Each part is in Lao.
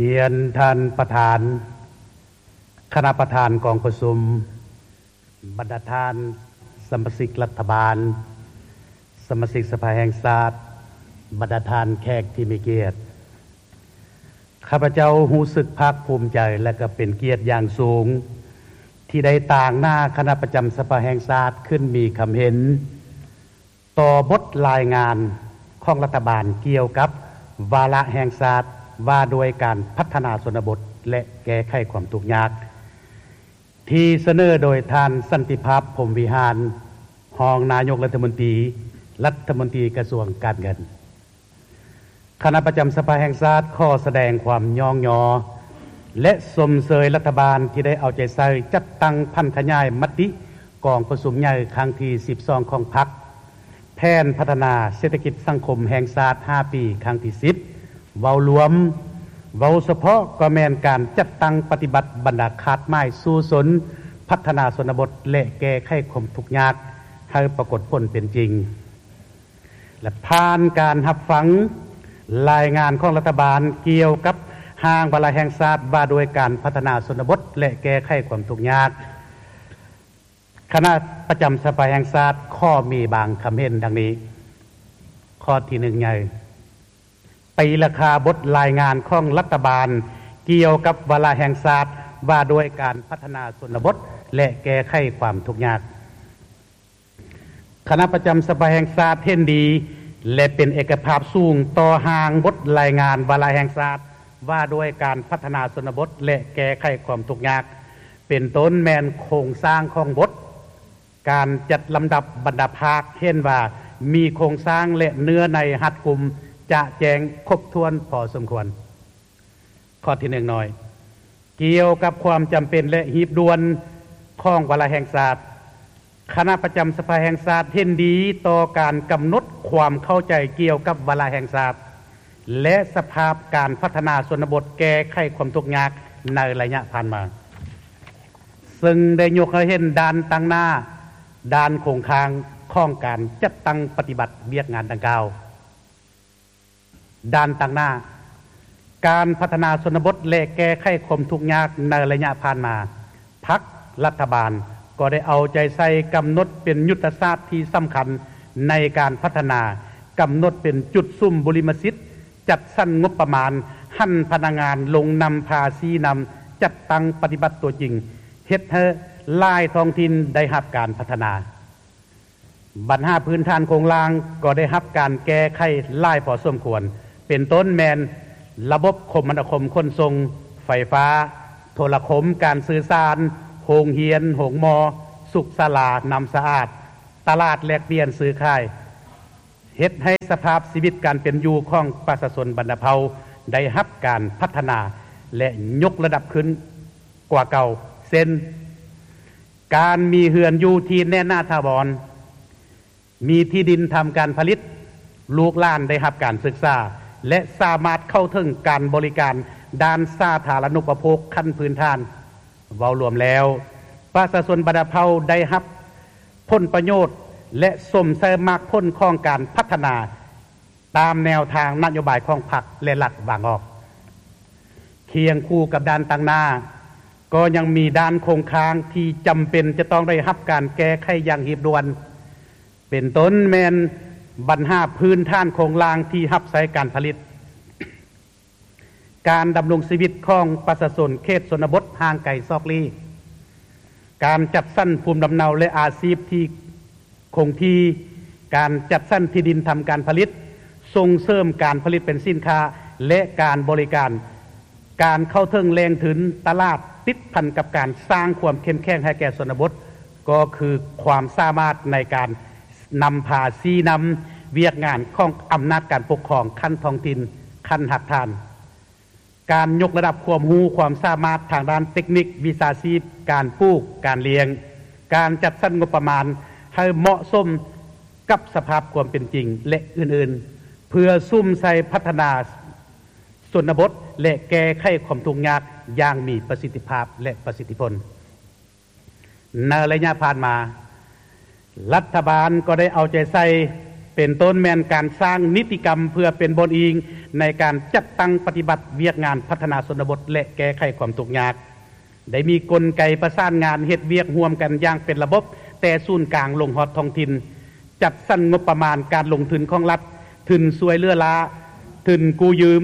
ຮຽນທ່ານປະທານ, ຄະນະປະທານກອງປະຊຸມ, ບັນດາທ່ານສະມາຊິກລັດຖະບານ, ສະມາຊິກສະພາແຫ່ງຊາດ, ບັນດາທ່ານແຂກທີ່ມີກຽດ. ຂ້າພະເຈົ້າຮູ້ສຶກພາກພູມໃຈ ແລະ ກໍເປັນກຽດຢ່າງສູງ ທີ່ໄດ້ຕາງໜ້າຄະນະປະຈຳສະພາແຫ່ງຊາດຂຶ້ນມີຄຳເຫັນ ຕໍ່ບົດລາຍງານຂອງລັດຖະບານກ່ຽວກັບວາລະແຫ່ງຊາດວ່າດ້ວຍການພັດທະນາຊົນນະບົດ ແລະ ແກ້ໄຂຄວາມທຸກຍາກ ທີ່ສະເໜີໂດຍທ່ານ ສັນຕິພາບ ພົມວິຫານ ຮອງນາຍົກລັດຖະມົນຕີ, ລັດຖະມົນຕີກະຊວງການເງິນ. ຄະນະປະຈຳສະພາແຫ່ງຊາດຂໍສະແດງຄວາມຍ້ອງຍໍ ແລະ ຊົມເຊີຍລັດຖະບານທີ່ໄດ້ເອົາໃຈໃສ່ຈັດຕັ້ງຜັນຂະຫຍາຍມະຕິກອງປະຊຸມໃຫຍ່ຄັ້ງທີສິບສອງຂອງພັກ, ແຜນພັດທະນາເສດຖະກິດສັງຄົມແຫ່ງຊາດຫ້າປີຄັ້ງທີສິບ ເວົ້າລວມ, ເວົ້າສະເພາະກໍແມ່ນການຈັດຕັ້ງປະຕິບັດບັນດາຄາດໝາຍສູ້ຊົນ, ພັດທະນາຊົນນະບົດ ແລະ ແກ້ໄຂຄວາມທຸກຍາກໃຫ້ປາກົດຜົນເປັນຈິງ. ແລະ ຜ່ານການຮັບຟັງລາຍງານຂອງລັດຖະບານກ່ຽວກັບຮ່າງວາລະແຫ່ງຊາດວ່າດ້ວຍການພັດທະນາຊົນນະບົດ ແລະ ແກ້ໄຂຄວາມທຸກຍາກ, ຄະນະປະຈຳສະພາແຫ່ງຊາດຂໍມີບາງຄຳເຫັນດັ່ງນີ້. ຂໍ້ທີໜຶ່ງໃຫຍ່, ຕີລາຄາບົດລາຍງານຂອງລັດຖະບານກ່ຽວກັບວາລະແຫ່ງຊາດວ່າດ້ວຍການພັດທະນາຊົນນະບົດ ແລະ ແກ້ໄຂຄວາມທຸກຍາກ. ຄະນະປະຈຳສະພາແຫ່ງຊາດເຫັນດີ ແລະ ເປັນເອກະພາບສູງຕໍ່ຮ່າງບົດລາຍງານວາລະແຫ່ງຊາດວ່າດ້ວຍການພັດທະນາຊົນນະບົດ ແລະ ແກ້ໄຂຄວາມທຸກຍາກ, ເປັນຕົ້ນແມ່ນໂຄງສ້າງຂອງບົດ, ການຈັດລຳດັບບັນດາພາກເຫັນວ່າມີໂຄງສ້າງ ແລະ ເນື້ອໃນຮັດກຸມ, ຈະແຈ້ງຄົບຖ້ວນພໍສົມຄວນ. ຂໍ້ທີໜຶ່ງນ້ອຍ, ກ່ຽວກັບຄວາມຈຳເປັນ ແລະ ຮີບດ່ວນຂອງວາລະແຫ່ງຊາດ, ຄະນະປະຈຳສະພາແຫ່ງຊາດເຫັນດີຕໍ່ການກຳນົດຄວາມເຂົ້າໃຈກ່ຽວກັບວາລະແຫ່ງຊາດ ແລະ ສະພາບການພັດທະນາຊົນນະບົດແກ້ໄຂຄວາມທຸກຍາກໃນໄລຍະຜ່ານມາ, ເຊິ່ງໄດ້ຍົກໃຫ້ເຫັນດ້ານຕັ້ງໜ້າ, ດ້ານຄົງຄ້າງຂອງການຈັດຕັ້ງປະຕິບັດວຽກງານດັ່ງກ່າວ. ດ້ານຕັ້ງໜ້າ, ການພັດທະນາຊົນນະບົດ ແລະ ແກ້ໄຂຄວາມທຸກຍາກໃນໄລຍະຜ່ານມາ, ພັກ, ລັດຖະບານກໍໄດ້ເອົາໃຈໃສ່ກຳນົດເປັນຍຸດທະສາດທີ່ສຳຄັນໃນການພັດທະນາ, ກຳນົດເປັນຈຸດສຸມບຸລິມະສິດ, ຈັດສັນງົບປະມານ, ຫັນພະນັກງານລົງນຳພາຊີ້ນຳ, ຈັດຕັ້ງປະຕິບັດຕົວຈິງ, ເຮັດໃຫ້ຫຼາຍທ້ອງຖິ່ນໄດ້ຮັບການພັດທະນາ. ບັນຫາພື້ນຖານໂຄງລ່າງກໍໄດ້ຮັບການແກ້ໄຂຫຼາຍພໍສົມຄວນ, ເປັນຕົ້ນແມ່ນລະບົບຄົມມະນາຄົມຂົນສົ່ງ, ໄຟຟ້າ, ໂທລະຄົມ, ການສື່ສານ, ໂຮງຮຽນ, ໂຮງໝໍ, ສຸກສາລາ, ນ້ຳສະອາດ, ຕະຫຼາດແລກປ່ຽນຊື້ຂາຍ, ເຮັດໃຫ້ສະພາບຊີວິດການເປັນຢູ່ຂອງປະຊາຊົນບັນດາເຜົ່າໄດ້ຮັບການພັດທະນາ ແລະ ຍົກລະດັບຂຶ້ນກວ່າເກົ່າ, ເຊັ່ນ, ການມີເຮືອນຢູ່ທີ່ແໜ້ນໜາຖາວອນ, ມີທີ່ດິນທຳການຜະລິດ, ລູກຫຼານໄດ້ຮັບການສຶກສາ ແລະ ສາມາດເຂົ້າເຖິງການບໍລິການດ້ານສາທາລະນຸປະໂພກຂັ້ນພື້ນຖານ. ເວົ້າລວມແລ້ວ, ປະຊາຊົນບັນດາເຜົ່າໄດ້ຮັບຜົນປະໂຫຍດ ແລະ ຊົມໃຊ້ໝາກຜົນຂອງການພັດທະນາ ຕາມແນວທາງນະໂຍບາຍຂອງພັກ ແລະ ລັດວາງອອກ. ຄຽງຄູ່ກັບດ້ານຕັ້ງໜ້າ, ກໍຍັງມີດ້ານຄົງຄ້າງທີ່ຈຳເປັນຈະຕ້ອງໄດ້ຮັບການແກ້ໄຂຢ່າງຮີບດ່ວນ, ເປັນຕົ້ນແມ່ນບັນຫາພື້ນຖານໂຄງລ່າງທີ່ຮັບໃຊ້ການຜະລິດ, ການດຳລົງຊີວິດຂອງປະຊາຊົນເຂດຊົນນະບົດຫ່າງໄກສອກຫຼີກ, ການຈັດສັນພູມລຳເນົາ ແລະ ອາຊີບທີ່ຄົງທີ່, ການຈັດສັນທີ່ດິນທຳການຜະລິດ, ສົ່ງເສີມການຜະລິດເປັນສິນຄ້າ ແລະ ການບໍລິການ, ການເຂົ້າເຖິງແຫຼ່ງທຶນ, ຕະຫຼາດ, ຕິດພັນກັບການສ້າງຄວາມເຂັ້ມແຂງໃຫ້ແກ່ຊົນນະບົດ, ກໍຄືຄວາມສາມາດໃນການນຳພາຊີ້ນຳວຽກງານຂອງອຳນາດການປົກຄອງຂັ້ນທ້ອງຖິ່ນ, ຂັ້ນຮາກຖານ. ການຍົກລະດັບຄວາມຮູ້ຄວາມສາມາດທາງດ້ານເຕັກນິກ, ວິຊາຊີບ, ການປູກ, ການລ້ຽງ, ການຈັດສັນງົບປະມານໃຫ້ເໝາະສົມກັບສະພາບຄວາມເປັນຈິງ ແລະ ອື່ນໆ, ເພື່ອສຸມໃສ່ພັດທະນາຊົນນະບົດ ແລະ ແກ້ໄຂຄວາມທຸກຍາກຢ່າງມີປະສິດທິພາບ ແລະ ປະສິດທິຜົນ. ໃນໄລຍະຜ່ານມາ, ລັດຖະບານກໍໄດ້ເອົາໃຈໃສ່ ເປັນຕົ້ນແມ່ນການສ້າງນິຕິກຳເພື່ອເປັນບ່ອນອີງໃນການຈັດຕັ້ງປະຕິບັດວຽກງານພັດທະນາຊົນນະບົດ ແລະ ແກ້ໄຂຄວາມທຸກຍາກ, ໄດ້ມີກົນໄກປະສານງານເຮັດວຽກຮ່ວມກັນຢ່າງເປັນລະບົບ ແຕ່ສູນກາງລົງຮອດທ້ອງຖິ່ນ, ຈັດສັນງົບປະມານການລົງທຶນຂອງລັດ, ທຶນຊ່ວຍເຫຼືອລ້າ, ທຶນກູ້ຢືມ,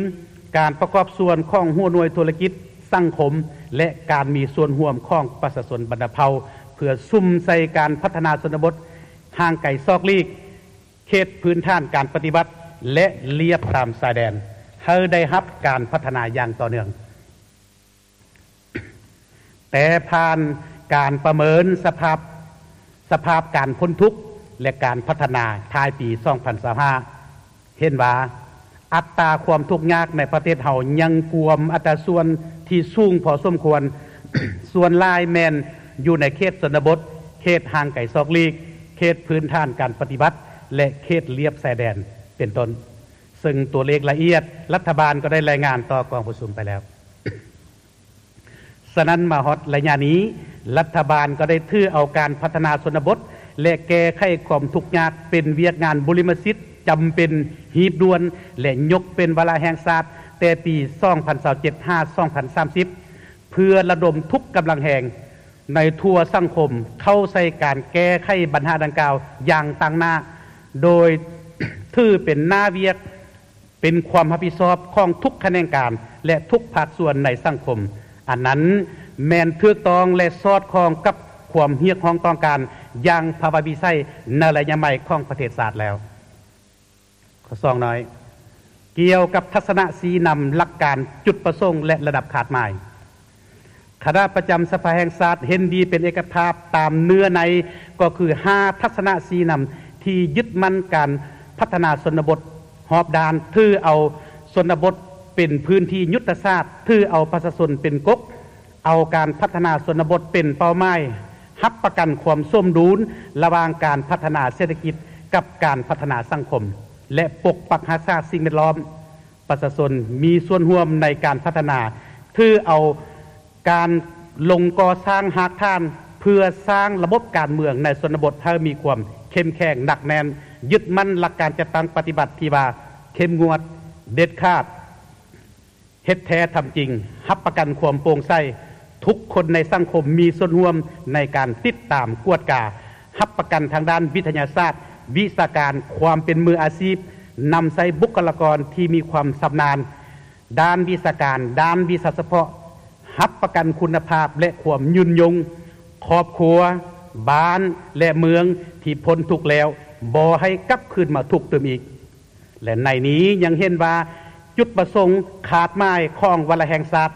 ການປະກອບສ່ວນຂອງຫົວໜ່ວຍທຸລະກິດ, ສັງຄົມ ແລະ ການມີສ່ວນຮ່ວມຂອງປະຊາຊົນບັນດາເຜົ່າ ເພື່ອສຸມໃສ່ການພັດທະນາຊົນນະບົດຫ່າງໄກສອກຫຼີກ, ເຂດພື້ນຖານການປະຕິບັດ ແລະ ລຽບຕາມຊາຍແດນ ໃຫ້ໄດ້ຮັບການພັດທະນາຢ່າງຕໍ່ເນື່ອງ. ແຕ່ຜ່ານການປະເມີນສະພາບ, ສະພາບການພົ້ນທຸກ ແລະ ການພັດທະນາທ້າຍປີສອງພັນຊາວຫ້າ ເຫັນວ່າອັດຕາຄວາມທຸກຍາກໃນປະເທດເຮົາຍັງກວມອັດຕາສ່ວນທີ່ສູງພໍສົມຄວນ, ສ່ວນຫຼາຍແມ່ນຢູ່ໃນເຂດຊົນນະບົດ, ເຂດຫ່າງໄກສອກຫຼີກ, ເຂດພື້ນຖານການປະຕິບັດ ແລະ ເຂດລຽບຊາຍແດນ ເປັນຕົ້ນ, ເຊິ່ງຕົວເລກລະອຽດລັດຖະບານກໍໄດ້ລາຍງານຕໍ່ກອງປະຊຸມໄປແລ້ວ. ສະນັ້ນ ມາຮອດໄລຍະນີ້, ລັດຖະບານກໍໄດ້ຖືເອົາການພັດທະນາຊົນນະບົດ ແລະ ແກ້ໄຂຄວາມທຸກຍາກເປັນວຽກງານບຸລິມະສິດຈຳເປັນ, ຮີບດ່ວນ ແລະ ຍົກເປັນວາລະແຫ່ງຊາດແຕ່ປີສອງພັນຊາວເຈັດ ຫາ ສອງພັນສາມສິບ ເພື່ອລະດົມທຸກກຳລັງແຮງໃນທົ່ວສັງຄົມເຂົ້າໃສ່ການແກ້ໄຂບັນຫາດັ່ງກ່າວຢ່າງຕັ້ງໜ້າ, ໂດຍຖືເປັນໜ້າວຽກ ເປັນຄວາມຮັບຜິດຊອບຂອງທຸກຂະແໜງການ ແລະ ທຸກພາກສ່ວນໃນສັງຄົມ. ອັນນັ້ນແມ່ນຖືກຕ້ອງ ແລະ ສອດຄ່ອງກັບຄວາມຮຽກຮ້ອງຕ້ອງການຢ່າງພາວະວິໄສໃນໄລຍະໃໝ່ຂອງປະເທດຊາດແລ້ວ. ຂໍ້ສອງນ້ອຍ, ກ່ຽວກັບທັດສະນະຊີ້ນຳຫຼັກການ, ຈຸດປະສົງ ແລະ ລະດັບຄາດໝາຍ. ຄະນະປະຈຳສະພາແຫ່ງຊາດເຫັນດີເປັນເອກະພາບຕາມເນື້ອໃນ ກໍຄືຫ້າທັດສະນະຊີ້ນຳທີ່ຍຶດໝັ້ນການພັດທະນາຊົນນະບົດຮອບດ້ານ, ຖືເອົາຊົນນະບົດເປັນພື້ນທີ່ຍຸດທະສາດ, ຖືເອົາປະຊາຊົນເປັນກົກ, ເອົາການພັດທະນາຊົນນະບົດເປັນເປົ້າໝາຍ, ຮັບປະກັນຄວາມສົມດຸນລະຫວ່າງການພັດທະນາເສດຖະກິດກັບການພັດທະນາສັງຄົມ ແລະ ປົກປັກຮັກສາສິ່ງແວດລ້ອມ. ປະຊາຊົນມີສ່ວນຮ່ວມໃນການພັດທະນາ, ຖືເອົາການລົງກໍ່ສ້າງຮາກຖານເພື່ອສ້າງລະບົບການເມືອງໃນຊົນນະບົດໃຫ້ມີຄວາມເຂັ້ມແຂງໜັກແໜ້ນ, ຍຶດໝັ້ນຫຼັກການຈັດຕັ້ງປະຕິບັດທີ່ວ່າເຂັ້ມງວດ, ເດັດຂາດ, ເຮັດແທ້ທຳຈິງ, ຮັບປະກັນຄວາມໂປ່ງໃສ, ທຸກຄົນໃນສັງຄົມມີສ່ວນຮ່ວມໃນການຕິດຕາມກວດກາ, ຮັບປະກັນທາງດ້ານວິທະຍາສາດ, ວິຊາການ, ຄວາມເປັນມືອາຊີບ, ນຳໃຊ້ບຸກຄະລາກອນທີ່ມີຄວາມຊຳນານດ້ານວິຊາການ, ດ້ານວິຊາສະເພາະ, ຮັບປະກັນຄຸນນະພາບ ແລະ ຄວາມຍືນຍົງ, ຄອບຄົວ, ບ້ານ ແລະ ເມືອງທີ່ພົ້ນທຸກແລ້ວ ບໍ່ໃຫ້ກັບຄືນມາທຸກຕື່ມອີກ. ແລະ ໃນນີ້ຍັງເຫັນວ່າຈຸດປະສົງຄາດໝາຍຂອງວາລະແຫ່ງຊາດ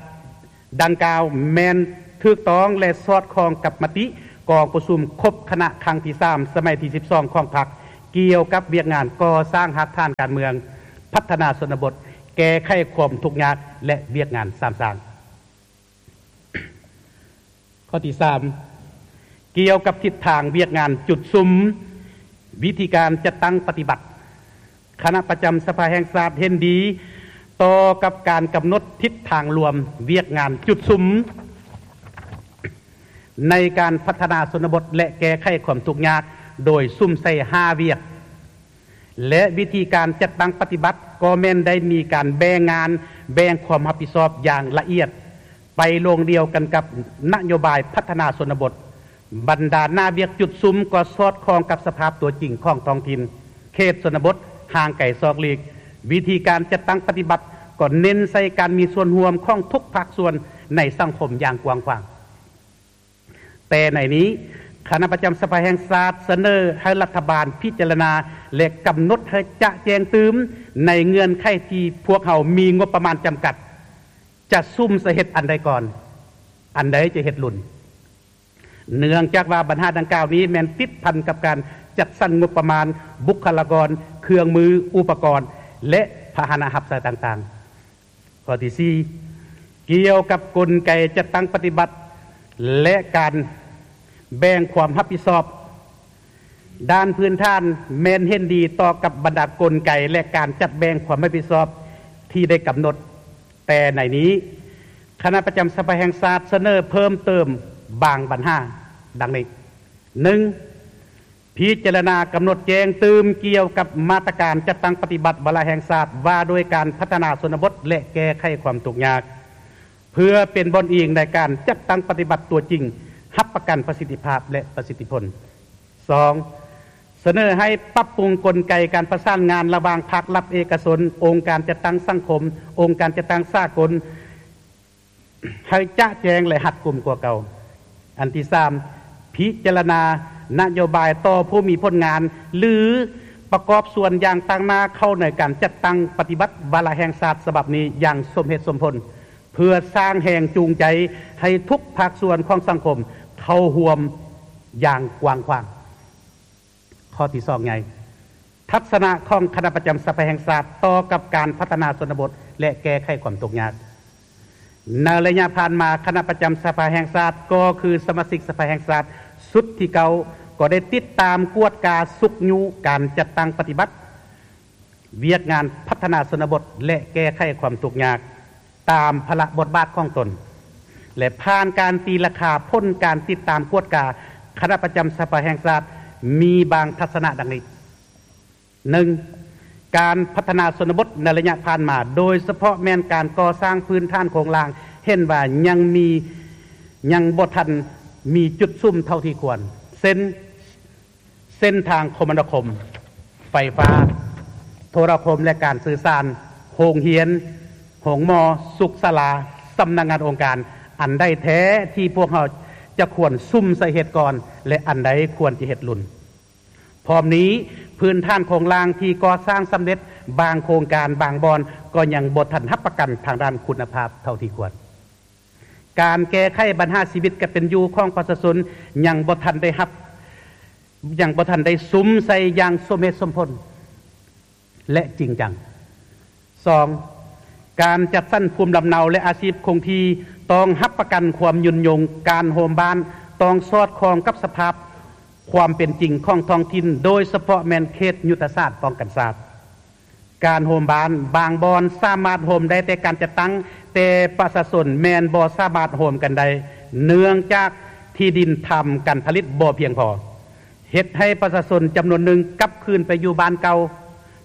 ດັ່ງກ່າວແມ່ນຖືກຕ້ອງ ແລະ ສອດຄ່ອງກັບມະຕິກອງປະຊຸມຄົບຄະນະຄັ້ງທີສາມ ສະໄໝທີສິບສອງຂອງພັກ ກ່ຽວກັບວຽກງານກໍ່ສ້າງຮາກຖານການເມືອງ, ພັດທະນາຊົນນະບົດ, ແກ້ໄຂຄວາມທຸກຍາກ ແລະ ວຽກງານສາມສ້າງ. ຂໍ້ທີສາມ ກ່ຽວກັບທິດທາງວຽກງານຈຸດສຸມ, ວິທີການຈັດຕັ້ງປະຕິບັດ, ຄະນະປະຈຳສະພາແຫ່ງຊາດເຫັນດີຕໍ່ກັບການກຳນົດທິດທາງລວມວຽກງານຈຸດສຸມໃນການພັດທະນາຊົນນະບົດ ແລະ ແກ້ໄຂຄວາມທຸກຍາກ ໂດຍສຸມໃສ່ຫ້າວຽກ. ແລະ ວິທີການຈັດຕັ້ງປະຕິບັດກໍແມ່ນໄດ້ມີການແບ່ງງານ, ແບ່ງຄວາມຮັບຜິດຊອບຢ່າງລະອຽດ, ໄປໂລງດຽວກັນກັບນະໂຍບາຍພັດທະນາຊົນນະບົດ. ບັນດາໜ້າວຽກຈຸດສຸມກໍສອດຄ່ອງກັບສະພາບຕົວຈິງຂອງທ້ອງຖິ່ນ, ເຂດຊົນນະບົດ, ຫ່າງໄກສອກຫຼີກ. ວິທີການຈັດຕັ້ງປະຕິບັດກໍເນັ້ນໃສ່ການມີສ່ວນຮ່ວມຂອງທຸກພາກສ່ວນໃນສັງຄົມຢ່າງກວ້າງຂວາງ. ແຕ່ໃນນີ້, ຄະນະປະຈຳສະພາແຫ່ງຊາດສະເໜີໃຫ້ລັດຖະບານພິຈາລະນາ ແລະ ກຳນົດໃຫ້ຈະແຈ້ງຕື່ມໃນເງື່ອນໄຂທີ່ພວກເຮົາມີງົບປະມານຈຳກັດ, ຈະສຸມໃສ່ເຮັດອັນໃດກ່ອນ, ອັນໃດຈະເຮັດລຸນ. ເນື່ອງຈາກວ່າບັນຫາດັ່ງກ່າວນີ້ແມ່ນຕິດພັນກັບການຈັດສັນງົບປະມານ, ບຸກຄະລາກອນ, ເຄື່ອງມື, ອຸປະກອນ ແລະ ພາຫະນະຮັບໃຊ້ຕ່າງໆ. ຂໍ້ທີສີ່ ກ່ຽວກັບກົນໄກຈັດຕັ້ງປະຕິບັດ ແລະ ການແບ່ງຄວາມຮັບຜິດຊອບ. ດ້ານພື້ນຖານແມ່ນເຫັນດີຕໍ່ກັບບັນດາກົນໄກ ແລະ ການຈັດແບ່ງຄວາມຮັບຜິດຊອບທີ່ໄດ້ກຳນົດ, ແຕ່ໃນນີ້ ຄະນະປະຈຳສະພາແຫ່ງຊາດສະເໜີເພີ່ມເຕີມບາງບັນຫາ ດັ່ງນີ້. ໜຶ່ງ ພິຈາລະນາກຳນົດແຈ້ງຕື່ມກ່ຽວກັບມາດຕະການຈັດຕັ້ງປະຕິບັດວາລະແຫ່ງຊາດວ່າດ້ວຍການພັດທະນາຊົນນະບົດ ແລະ ແກ້ໄຂຄວາມທຸກຍາກ ເພື່ອເປັນບ່ອນອີງໃນການຈັດຕັ້ງປະຕິບັດຕົວຈິງ, ຮັບປະກັນປະສິດທິພາບ ແລະ ປະສິດທິຜົນ. ສອງ, ສະເໜີໃຫ້ປັບປຸງກົນໄກການປະສານງານລະຫວ່າງພາກລັດເອກະຊົນ, ອົງການຈັດຕັ້ງສັງຄົມ, ອົງການຈັດຕັ້ງສາກົນ ໃຫ້ຈະແຈ້ງ ແລະ ຮັດກຸມກວ່າເກົ່າ. ອັນທີສາມ, ພິຈາລະນານະໂຍບາຍຕໍ່ຜູ້ມີຜົນງານ ຫຼື ປະກອບສ່ວນຢ່າງຕາງໜ້າເຂົ້າໃນການຈັດຕັ້ງປະຕິບັດວາລະແຫ່ງຊາດສະບັບນີ້ຢ່າງສົມເຫດສົມຜົນ ເພື່ອສ້າງແຮງຈູງໃຈໃຫ້ທຸກພາກສ່ວນຂອງສັງຄົມເຂົ້າຮ່ວມຢ່າງກວ້າງຂວາງ. ຂໍ້ທີສອງໃຫຍ່, ທັດສະນະຂອງຄະນະປະຈຳສະພາແຫ່ງຊາດຕໍ່ກັບການພັດທະນາຊົນນະບົດ ແລະ ແກ້ໄຂຄວາມທຸກຍາກ. ໃນໄລຍະຜ່ານມາ, ຄະນະປະຈຳສະພາແຫ່ງຊາດ ກໍຄືສະມາຊິກສະພາແຫ່ງຊາດຊຸດທີເກົ້າ ກໍໄດ້ຕິດຕາມກວດກາຊຸກຍູ້ການຈັດຕັ້ງປະຕິບັດ ວຽກງານພັດທະນາຊົນນະບົດ ແລະ ແກ້ໄຂຄວາມທຸກຍາກຕາມພາລະບົດບາດຂອງຕົນ ແລະ ຜ່ານການຕີລາຄາຜົນການຕິດຕາມກວດກາຄະນະປະຈຳສະພາແຫ່ງຊາດ ມີບາງທັດສະນະດັ່ງນີ້. ໜຶ່ງ, ການພັດທະນາຊົນນະບົດໃນໄລຍະຜ່ານມາ, ໂດຍສະເພາະແມ່ນການກໍ່ສ້າງພື້ນຖານໂຄງລ່າງ ເຫັນວ່າຍັງມີ, ຍັງບໍ່ທັນມີຈຸດສຸມເທົ່າທີ່ຄວນ, ເຊັ່ນ, ເສັ້ນທາງຄົມມະນາຄົມ, ໄຟຟ້າ, ໂທລະຄົມ ແລະ ການສື່ສານ, ໂຮງຮຽນ, ໂຮງໝໍ, ສຸກສາລາ, ສຳນັກງານອົງການ, ອັນໃດແທ້ທີ່ພວກເຮົາຈະຄວນສຸມໃສ່ເຮັດກ່ອນ ແລະ ອັນໃດຄວນຈະເຮັດລຸນ. ພ້ອມນີ້, ພື້ນຖານໂຄງລ່າງທີ່ກໍ່ສ້າງສຳເລັດບາງໂຄງການບາງບ່ອນກໍຍັງບໍ່ທັນຮັບປະກັນທາງດ້ານຄຸນນະພາບເທົ່າທີ່ຄວນ. ການແກ້ໄຂບັນຫາຊີວິດການເປັນຢູ່ຂອງປະຊາຊົນຍັງບໍ່ທັນໄດ້ຮັບ, ຍັງບໍ່ທັນໄດ້ສຸມໃສ່ຢ່າງສົມເຫດສົມຜົນ ແລະ ຈິງຈັງ. ສອງ, ການຈັດສັນພູມລຳເນົາ ແລະ ອາຊີບຄົງທີ່ຕ້ອງຮັບປະກັນຄວາມຍືນຍົງ, ການໂຮມບ້ານຕ້ອງສອດຄ່ອງກັບສະພາບຄວາມເປັນຈິງຂອງທ້ອງຖິ່ນ, ໂດຍສະເພາະແມ່ນເຂດຍຸດທະສາດປ້ອງກັນຊາດ. ການໂຮມບ້ານບາງບ່ອນສາມາດໂຮມໄດ້ແຕ່ການຈັດຕັ້ງ, ແຕ່ປະຊາຊົນແມ່ນບໍ່ສາມາດໂຮມກັນໄດ້, ເນື່ອງຈາກທີ່ດິນທຳການຜະລິດບໍ່ພຽງພໍ, ເຮັດໃຫ້ປະຊາຊົນຈຳນວນໜຶ່ງກັບຄືນໄປຢູ່ບ້ານເກົ່າ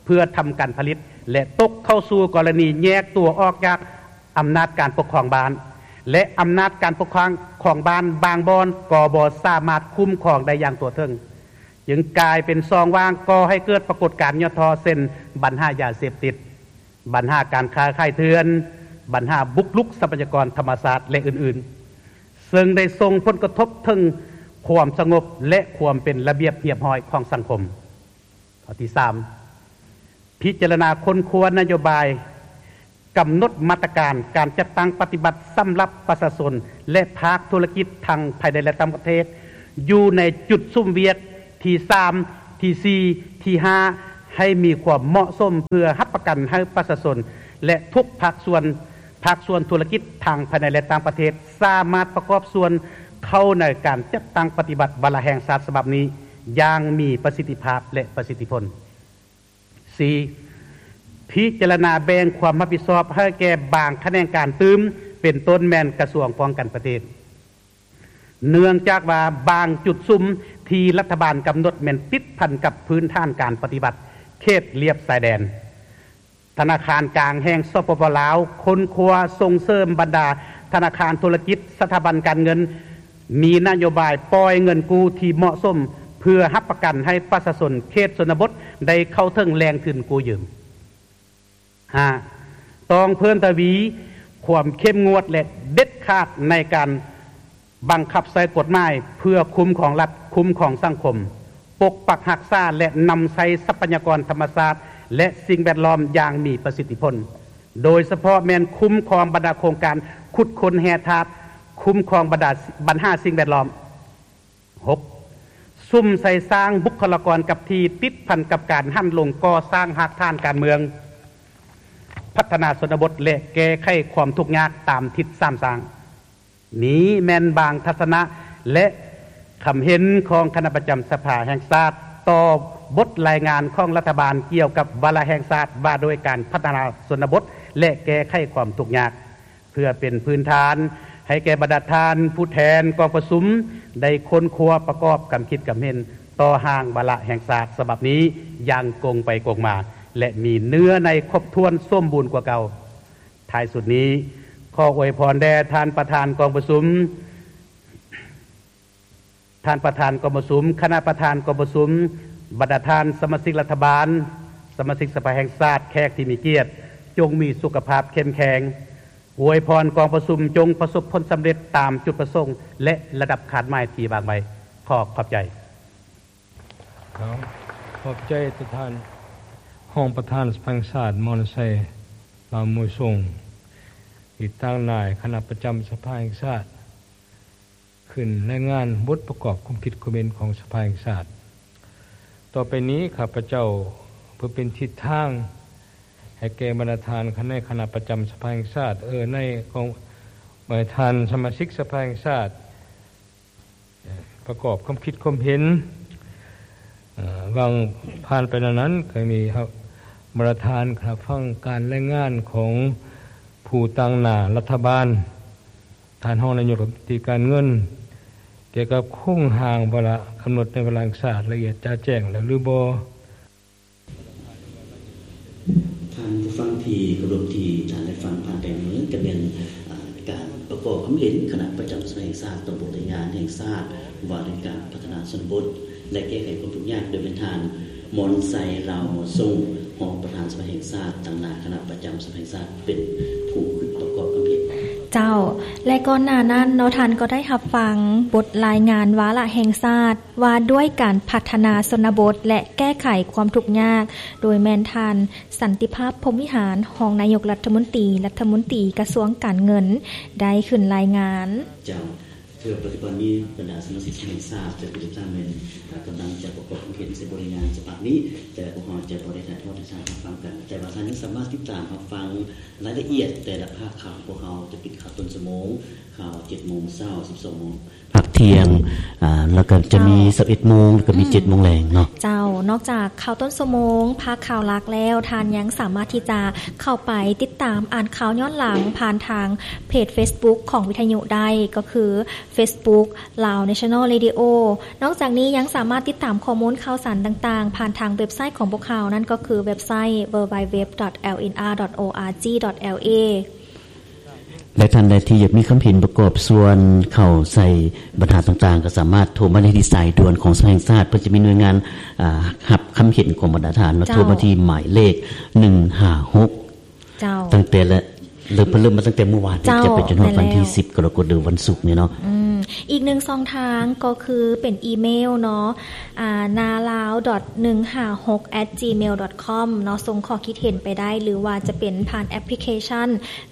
ເພື່ອທຳການຜະລິດ ແລະ ຕົກເຂົ້າສູ່ກໍລະນີແຍກຕົວອອກຈາກອຳນາດການປົກຄອງບ້ານ ແລະ ອຳນາດການປົກຄອງຂອງບ້ານບາງບ່ອນກໍບໍ່ສາມາດຄຸ້ມຄອງໄດ້ຢ່າງທົ່ວເຖິງ. ຈຶ່ງກາຍເປັນຊ່ອງວ່າງ, ກໍ່ໃຫ້ເກີດປາກົດການຫຍໍ້ທໍ້ ເຊັ່ນ ບັນຫາຢາເສບຕິດ, ບັນຫາການຄ້າຂາຍເຖື່ອນ, ບັນຫາບຸກລຸກຊັບພະຍາກອນທຳມະຊາດ ແລະ ອື່ນໆ, ເຊິ່ງໄດ້ສົ່ງຜົນກະທົບເຖິງຄວາມສະຫງົບ ແລະ ຄວາມເປັນລະບຽບຮຽບຮ້ອຍຂອງສັງຄົມ. ຂໍ້ທີສາມ, ພິຈາລະນາຄົ້ນຄວ້ານະໂຍບາຍ ກຳນົດມາດຕະການການຈັດຕັ້ງປະຕິບັດສຳລັບປະຊາຊົນ ແລະ ພາກທຸລະກິດທັງພາຍໃນ ແລະ ຕ່າງປະເທດ ຢູ່ໃນຈຸດສຸມວຽກທີສາມ, ທີສີ່, ທີຫ້າ ໃຫ້ມີຄວາມເໝາະສົມ ເພື່ອຮັບປະກັນໃຫ້ປະຊາຊົນ ແລະ ທຸກພາກສ່ວນ, ພາກສ່ວນທຸລະກິດທັງພາຍໃນ ແລະ ຕ່າງປະເທດ ສາມາດປະກອບສ່ວນເຂົ້າໃນການຈັດຕັ້ງປະຕິບັດວາລະແຫ່ງຊາດສະບັບນີ້ຢ່າງມີປະສິດທິພາບ ແລະ ປະສິດທິຜົນ. ສີ່, ພິຈາລະນາແບ່ງຄວາມຮັບຜິດຊອບໃຫ້ແກ່ບາງຂະແໜງການຕື່ມ, ເປັນຕົ້ນແມ່ນກະຊວງປ້ອງກັນປະເທດ. ເນື່ອງຈາກວ່າບາງຈຸດສຸມທີ່ລັດຖະບານກຳນົດແມ່ນຕິດພັນກັບພື້ນຖານການປະຕິບັດເຂດລຽບຊາຍແດນ. ທະນາຄານກາງແຫ່ງ ສປປ ລາວ ຄົ້ນຄວ້າສົ່ງເສີມບັນດາທະນາຄານທຸລະກິດ, ສະຖາບັນການເງິນ ມີນະໂຍບາຍປ່ອຍເງິນກູ້ທີ່ເໝາະສົມ ເພື່ອຮັບປະກັນໃຫ້ປະຊາຊົນເຂດຊົນນະບົດໄດ້ເຂົ້າເຖິງແຫຼ່ງທຶນກູ້ຢືມ. ຫ້າ, ຕ້ອງເພີ່ມທະວີຄວາມເຂັ້ມງວດ ແລະ ເດັດຂາດໃນການບັງຄັບໃຊ້ກົດໝາຍ ເພື່ອຄຸ້ມຄອງລັດ, ຄຸ້ມຄອງສັງຄົມ, ປົກປັກຮັກສາ ແລະ ນຳໃຊ້ຊັບພະຍາກອນທຳມະຊາດ ແລະ ສິ່ງແວດລ້ອມຢ່າງມີປະສິດທິຜົນ, ໂດຍສະເພາະແມ່ນຄຸ້ມຄອງບັນດາໂຄງການຂຸດຄົ້ນແຮ່ທາດ, ຄຸ້ມຄອງບັນດາ ບັນຫາສິ່ງແວດລ້ອມ. ຫົກ, ສຸມໃສ່ສ້າງບຸກຄະລາກອນກັບທີ່ ຕິດພັນກັບການຫັນລົງກໍ່ສ້າງຮາກຖານການເມືອງ, ພັດທະນາຊົນນະບົດ ແລະ ແກ້ໄຂຄວາມທຸກຍາກຕາມທິດສາມສ້າງ. ນີ້ແມ່ນບາງທັດສະນະ ແລະ ຄຳເຫັນຂອງຄະນະປະຈຳສະພາແຫ່ງຊາດ ຕໍ່ບົດລາຍງານຂອງລັດຖະບານກ່ຽວກັບວາລະແຫ່ງຊາດວ່າດ້ວຍການພັດທະນາຊົນນະບົດ ແລະ ແກ້ໄຂຄວາມທຸກຍາກ. ເພື່ອເປັນພື້ນຖານໃຫ້ແກ່ບັນດາທ່ານຜູ້ແທນກອງປະຊຸມໄດ້ຄົ້ນຄວ້າປະກອບຄຳຄິດຄຳເຫັນ ຕໍ່ຮ່າງວາລະແຫ່ງຊາດສະບັບນີ້ຢ່າງກົງໄປກົງມາ ແລະ ມີເນື້ອໃນຄົບຖ້ວນສົມບູນກວ່າເກົ່າ. ທ້າຍສຸດນີ້ ຂໍອວຍພອນແດ່ທ່ານປະທານກອງປະຊຸມ, ທ່ານປະທານກອງປະຊຸມ, ຄະນະປະທານກອງປະຊຸມ, ບັນດາທ່ານສະມາຊິກລັດຖະບານ, ສະມາຊິກສະພາແຫ່ງຊາດ, ແຂກທີ່ມີກຽດ, ຈົ່ງມີສຸຂະພາບເຂັ້ມແຂງ. ອວຍພອນກອງປະຊຸມຈົ່ງປະສົບຜົນສຳເລັດຕາມຈຸດປະສົງ ແລະ ລະດັບຄາດໝາຍທີ່ວາງໄວ້. ຂໍຂອບໃຈ. ຂອບໃຈທ່ານຮອງປະທານສະພາແຫ່ງຊາດ ມອນໄຊ ລາວມວຍຊົງ ທີ່ຕາງໜ້າຄະນະປະຈຳສະພາແຫ່ງຊາດ ຂຶ້ນລາຍງານບົດປະກອບຄວາມຄິດຄວາມເຫັນຂອງສະພາແຫ່ງຊາດ. ຕໍ່ໄປນີ້ ຂ້າພະເຈົ້າເພື່ອເປັນທິດທາງໃຫ້ແກ່ບັນດາທ່ານໃນຄະນະປະຈຳສະພາແຫ່ງຊາດ, ເອີ ໃນກອງ, ບັນດາທ່ານສະມາຊິກສະພາແຫ່ງຊາດ ປະກອບຄວາມຄິດຄວາມເຫັນ. ເອີ ຫວ່າງຜ່ານໄປແນວນັ້ນ ກໍມີບັນດາທ່ານຮັບຟັງການລາຍງານຂອງຜູ້ຕາງໜ້າລັດຖະບານ, ທ່ານຮອງນາຍົກລັດຖະມົນຕີການເງິນ ກ່ຽວກັບໂຄງຮ່າງວາລະກຳນົດໃນວາລະແຫ່ງຊາດລະອຽດຈະແຈ້ງແລ້ວຫຼືບໍ່? ທ່ານຜູ້ຟັງທີ່ເຄົາລົບ, ທີ່ທ່ານໄດ້ຟັງຜ່ານໄປນີ້ ກໍແມ່ນ ອາ ການປະກອບຄຳເຫັນຄະນະປະຈຳສະພາແຫ່ງຊາດຕໍ່ບົດລາຍງານແຫ່ງຊາດວ່າດ້ວຍການພັດທະນາຊົນນະບົດ ແລະ ແກ້ໄຂຄວາມທຸກຍາກ ໂດຍແມ່ນທ່ານ ມອນໄຊ ລາວມວຍຊົງ ຮອງປະທານສະພາແຫ່ງຊາດ ຕາງໜ້າຄະນະປະຈຳສະພາແຫ່ງຊາດ ເປັນຜູ້ປະກອບຄຳເຫັນ. ເຈົ້າ ແລະ ກ່ອນໜ້ານັ້ນເນາະ ທ່ານກໍໄດ້ຮັບຟັງບົດລາຍງານວາລະແຫ່ງຊາດວ່າດ້ວຍການພັດທະນາຊົນນະບົດ ແລະ ແກ້ໄຂຄວາມທຸກຍາກ ໂດຍແມ່ນທ່ານ ສັນຕິພາບ ພົມວິຫານ ຮອງນາຍົກລັດຖະມົນຕີ, ລັດຖະມົນຕີກະຊວງການເງິນ ໄດ້ຂຶ້ນລາຍງານ. ເຈົ້າ. ເທື່ອປັດຈຸບັນນີ້ ບັນດາສະມາຊິກສະພາແຫ່ງຊາດຈະເປັນທ່ານແມ່ນ ກຳລັງຈະປະກອບຄຳເຫັນໃສ່ບົດລາຍງານສະບັບນີ້, ແຕ່ພວກເຮົາຈະບໍ່ໄດ້ຖ່າຍທອດໃຫ້ທ່ານຮັບຟັງກັນ, ແຕ່ວ່າທ່ານຍັງສາມາດຕິດຕາມຮັບຟັງລາຍລະອຽດແຕ່ລະພາກຂ່າວຂອງພວກເຮົາຈະປິດຂ່າວຕົ້ນຊົ່ວໂມງ, ຂ່າວເຈັດໂມງເຊົ້າ, ສິບສອງໂມງ ພາກທ່ຽງ, ອາ ແລ້ວກໍຈະມີ ເຈົ້າ ສິບເອັດໂມງ ແລ້ວກໍມີ ອືມ ເຈັດໂມງແລງເນາະ. ເຈົ້າ, ນອກຈາກຂ່າວຕົ້ນຊົ່ວໂມງ, ພາກຂ່າວຫຼັກແລ້ວ, ທ່ານຍັງສາມາດທີ່ຈະເຂົ້າໄປຕິດຕາມອ່ານຂ່າວຍ້ອນຫຼັງຜ່ານທາງເພຈເຟສບຸກຂອງວິທະຍຸໄດ້, ກໍຄືເຟສບຸກ Lao National Radio. ນອກຈາກນີ້ຍັງສາມາດຕິດຕາມຂໍ້ມູນຂ່າວສານຕ່າງໆ ຜ່ານທາງເວັບໄຊຂອງພວກເຮົາ, ນັ້ນກໍຄືເວັບໄຊ www.lnr.org.la. ແລະ ທ່ານໃດທີ່ຢາກມີຄຳເຫັນປະກອບສ່ວນເຂົ້າໃສ່ບັນຫາຕ່າງໆ ກໍສາມາດໂທມາໄດ້ທີ່ສາຍດ່ວນຂອງສະພາແຫ່ງຊາດ, ເພິ່ນຈະມີໜ່ວຍງານ ອາ ຮັບຄຳເຫັນຂອງບັນດາທ່ານເນາະ, ເຈົ້າ ໂທມາທີ່ໝາຍເລກ ໜຶ່ງຫ້າຫົກ ເຈົ້າ ຕັ້ງແຕ່ ເລີ່ມ ເພິ່ນເລີ່ມມາຕັ້ງແຕ່ມື້ວານນີ້ ເຈົ້າ ຈະໄປຈົນຮອດວັນທີ ແມ່ນແລ້ວ ສິບ ກໍລະກົດ ຫຼື ວັນສຸກນີ້ເນາະ. ອືມ ອີກໜຶ່ງຊ່ອງທາງກໍຄືເປັນອີເມວເນາະ ອາ ນາລາວ ໜຶ່ງຫ້າຫົກ ແອັດ ຈີເມວ ດອດ ຄອມ ເນາະ, ສົ່ງຂໍ້ຄິດເຫັນໄປໄດ້ ຫຼືວ່າຈະເປັນຜ່ານແອັບພລິເຄຊັນ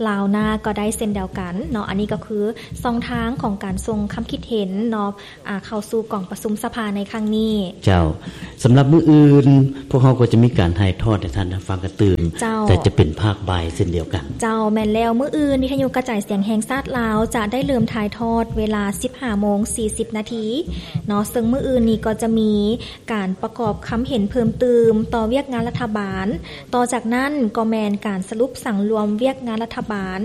ລາວນາກໍໄດ້ເຊັ່ນດຽວກັນເນາະ. ອັນນີ້ກໍຄືຊ່ອງທາງຂອງການສົ່ງຄຳຄິດເຫັນເນາະ ອາ ເຂົ້າສູ່ກອງປະຊຸມສະພາໃນຄັ້ງນີ້. ເຈົ້າ, ສຳລັບມື້ອື່ນ ພວກເຮົາກໍຈະມີການຖ່າຍທອດໃຫ້ທ່ານໄດ້ຟັງກັນຕື່ມ, ເຈົ້າ ແຕ່ຈະເປັນພາກບ່າຍເຊັ່ນດຽວກັນ. ເຈົ້າ, ແມ່ນແລ້ວ, ມື້ອື່ນວິທະຍຸກະຈາຍສຽງແຫ່ງຊາດລາວຈະໄດ້ເລີ່ມຖ່າຍທອດເວລາ ສິບຫ້າໂມງ ສີ່ສິບນາທີເນາະ, ເຊິ່ງມື້ອື່ນນີ້ກໍຈະມີ ການປະກອບຄຳເຫັນເພີ່ມຕື່ມຕໍ່ວຽກງານລັດຖະບານ. ຕໍ່ຈາກນັ້ນກໍແມ່ນການສະຫຼຸບສັງລວມວຽກງານລັດຖະບານ,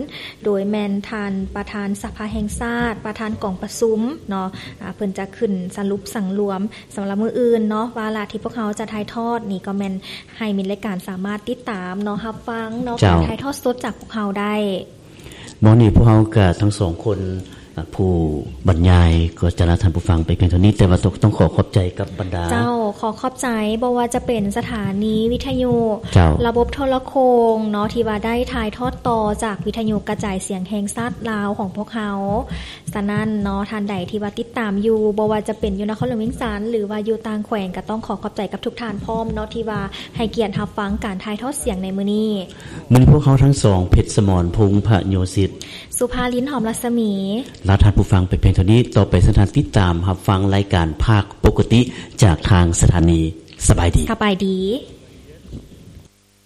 ໂດຍແມ່ນທ່ານປະທານສະພາແຫ່ງຊາດ, ປະທານກອງປະຊຸມເນາະ, ອາ, ເພິ່ນຈະຂຶ້ນສະຫຼຸບສັງລວມສຳລັບມື້ອື່ນເນາະ. ວາລະທີ່ພວກເຮົາຈະຖ່າຍທອດນີ້ກໍແມ່ນໃຫ້ມິດລາຍການສາມາດຕິດຕາມເນາະ, ຮັບຟັງເນາະ, ເຈົ້າ, ການຖ່າຍທອດສົດຈາກພວກເຮົາໄດ້. ໝໍນີ້ພວກເຮົາກະທັງສອງຄົນ ອາ ຜູ້ບັນຍາຍກໍຈະລາທ່ານຜູ້ຟັງໄປພຽງເທົ່ານີ້, ແຕ່ວ່າຕ້ອງ ຕ້ອງຂໍຂອບໃຈກັບບັນດາ ເຈົ້າ, ຂໍຂອບໃຈ ບໍ່ວ່າຈະເປັນສະຖານີວິທະຍຸ, ເຈົ້າ, ລະບົບໂທລະໂຄ່ງເນາະ ທີ່ວ່າໄດ້ຖ່າຍທອດຕໍ່ຈາກວິທະຍຸກະຈາຍສຽງແຫ່ງຊາດລາວຂອງພວກເຮົາ. ສະນັ້ນເນາະ, ທ່ານໃດທີ່ວ່າຕິດຕາມຢູ່, ບໍ່ວ່າຈະເປັນຢູ່ນະຄອນຫຼວງວຽງຈັນ ຫຼືວ່າຢູ່ຕ່າງແຂວງ, ກໍຕ້ອງຂໍຂອບໃຈກັບທຸກທ່ານພ້ອມເນາະ ທີ່ວ່າໃຫ້ກຽດຮັບຟັງການຖ່າຍທອດສຽງໃນມື້ນີ້. ມື້ນີ້ພວກເຮົາທັງສອງ ເພັດສະໝອນ ພົງພະໂຍສິດ, ສຸພາລິນ ຫອມລັດສະໝີ ລາທ່ານຜູ້ຟັງໄປພຽງເທົ່ານີ້. ຕໍ່ໄປເຊີນທ່ານຕິດຕາມຮັບຟັງລາຍການພາກປົກກະຕິຈາກທາງສະຖານີ. ສະບາຍດີ. ສະບາຍດີ.